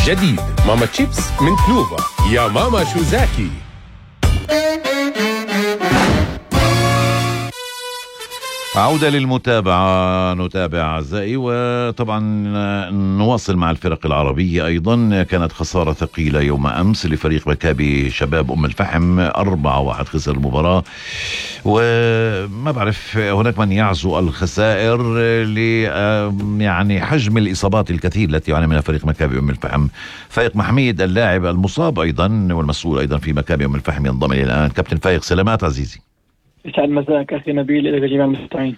جديد ماما تشيبس من تنوفا. يا ماما شو زاكي. عودة للمتابعة، نتابع أعزائي، وطبعا نواصل مع الفرق العربية. أيضا كانت خسارة ثقيلة يوم أمس لفريق مكابي شباب أم الفحم، 4-1 خسر المباراة. وما بعرف، هناك من يعزو الخسائر يعني حجم الإصابات الكثير التي يعاني منها فريق مكابي أم الفحم. فايق محميد اللاعب المصاب أيضا والمسؤول أيضا في مكابي أم الفحم ينضم إلي الآن. كابتن فايق، سلامات عزيزي. يسعد مساك أخي نبيل إلى جميع المستمعين.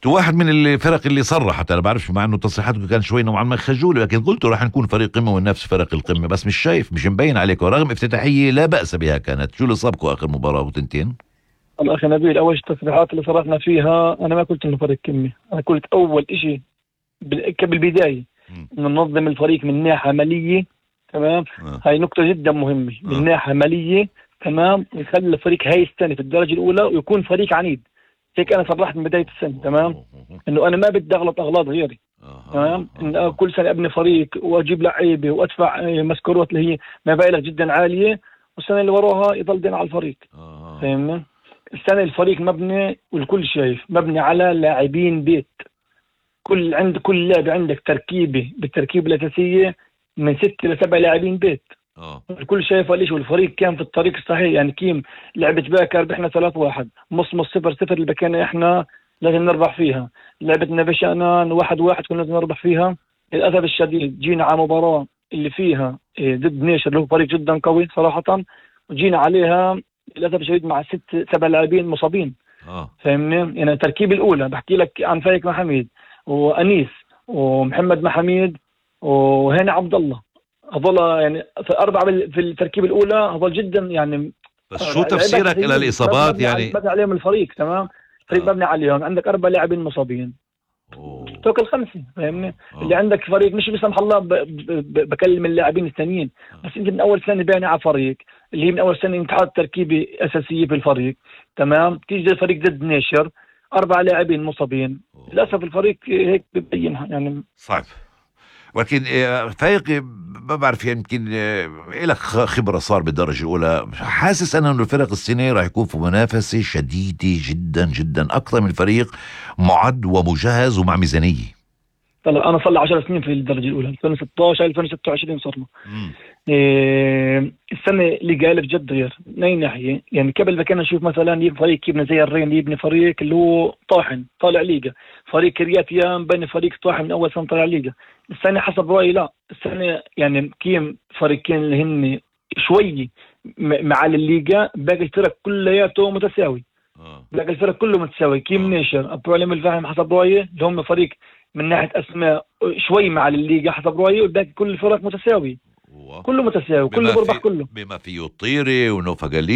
واحد من الفرق اللي صرحت، أنا بعرفش، مع إنه تصريحاته كان شوي نوعا ما خجول، لكن قلت راح نكون فريق قمة ونفس فرق القمة، بس مش شايف، مش مبين عليكم رغم افتتاحية لا بأس بها كانت. شو اللي صابكم آخر مباراة وتنتين؟ الله أخي نبيل، أول التصريحات اللي صرحنا فيها أنا ما قلت إنه فريق قمة، أنا قلت أول إشي بالبداية ننظم الفريق من ناحية عملية. تمام. هاي نقطة جدا مهمة من ناحية عملية. تمام. يخلي الفريق هاي السنة في الدرجة الأولى ويكون فريق عنيد. هيك أنا صرحت من بداية السنة. تمام. إنه أنا ما بدي أغلط أغلاط غيري. تمام. إن كل سنة أبني فريق وأجيب لعيبة وأدفع مسكورات اللي هي مبالغ جدا عالية، والسنة اللي وراها يضل دين على الفريق. فاهمني؟ السنة الفريق مبني، والكل شايف مبني على لاعبين بيت. كل لاعب عندك تركيبة بالتركيبة الأساسية من 6 ل 7 لاعبين بيت. الكل شايف ليش، والفريق كان في الطريق الصحيح. يعني كيم لعبة باكر بإحنا 3-1، مص 0-0 اللي بكينا إحنا لازم نربح فيها. لعبة نبشانان 1-1 كنا لازم نربح فيها. للأسف الشديد جينا على مباراة اللي فيها ضد نيشر اللي هو فريق جدا قوي صراحة، وجينا عليها للأسف الشديد مع 6-7 لاعبين مصابين. فاهمني؟ يعني التركيب الأولى بحكي لك عن فايق محميد وأنيس ومحمد محميد وهنا عبد الله، هذول يعني في 4 في التركيب الأولى، هذول جدا يعني. بس شو تفسيرك إلى الإصابات؟ يعني مبني عليهم الفريق. تمام. فريق مبني عليهم، عندك 4 لاعبين مصابين توكل 5. فاهمني؟ اللي عندك فريق مش بسمح الله بكلم اللاعبين الثانيين، بس انت من اول سنه باني على فريق اللي هي من اول سنه انت حاطط تركيبه اساسيه في الفريق. تمام. تيجي الفريق ضد نيشر 4 لاعبين مصابين، للاسف الفريق هيك ببينها يعني صعب. ولكن فايق ما بعرف، يمكن لك خبرة صار بالدرجة الأولى، حاسس أنا أنه الفرق السنة راح يكون في منافسة شديدة جدا جدا، أكثر من فريق معد ومجهز ومع ميزانية. طلع أنا صار لي 10 سنين في الدرجة الأولى، 2016 2026 صرنا. السنة اللي قال بجد غير من أي ناحية. يعني قبل ما كنا نشوف مثلا يبني فريق يبني زي الرين، يبني فريق اللي هو طاحن طالع ليجا، فريق كرياتيان بني فريق طاحن من أول سنة طالع ليجا. السنة حسب رأيي لا، السنة يعني كيم فريقين اللي هن شوي مع الليجا، باقي الفرق كلياته متساوي. باقي الفرق كله متساوي. كيم نيشر أبو علم الفهم حسب رأيي اللي هم فريق من ناحية أسماء شوي مع الليجا حسب رأيي، والباقي كل الفرق متساوي، كله متساوي، كله بربح كله بما فيه الطيري ونوفا قليل